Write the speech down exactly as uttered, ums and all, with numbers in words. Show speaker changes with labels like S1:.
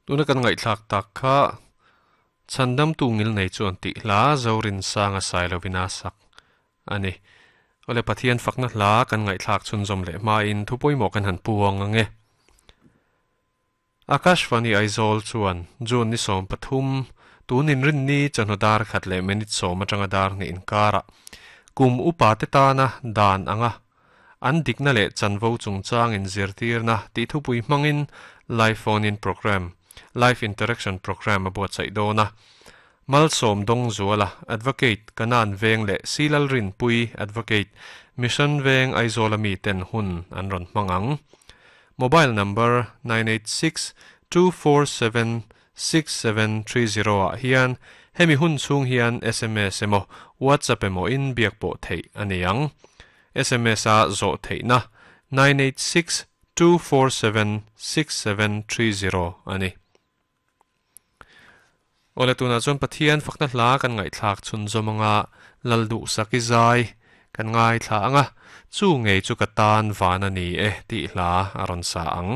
S1: Tuna kan ngaihthlak tak kha Chhandam tu ngil nei chuan tih hla Zorin sanga Sailovina sak ani. Ole Pathian fakna hla kan ngaihthlak chhunzawm leh hmain thu pawimawh kan han puang ange. Akashvani Aizawl chuan June ni sawm pathum tunin rin ni chawhnu dar khat leh minute sawm atanga dar hnih inkara kum upa te tana dan anga an dikna leh chanvo chungchang in zirtirna tih thupui hmangin live phone in program live interaction program a buatsaih dawn a. Malsawm dawng zuala advocate Kanan Veng leh Silal Rin Pui advocate Mission Veng Aizawl ami ten hun an rawn hmang ang. Mobile number nine eight six two four seven six seven three zero ah hian hemi hun chhung hian S M S emaw WhatsApp emaw in biak pawh theih ani ang. S M S a zawh theihna nine eight six two four seven six seven three zero ani. Ole tuna chuan Pathian fakna hla kan ngaihthlak chhunzawm anga Lalduh saki zai kan ngaithla anga chu ngei chu ka tan van ani e tih hla a rawn sa ang.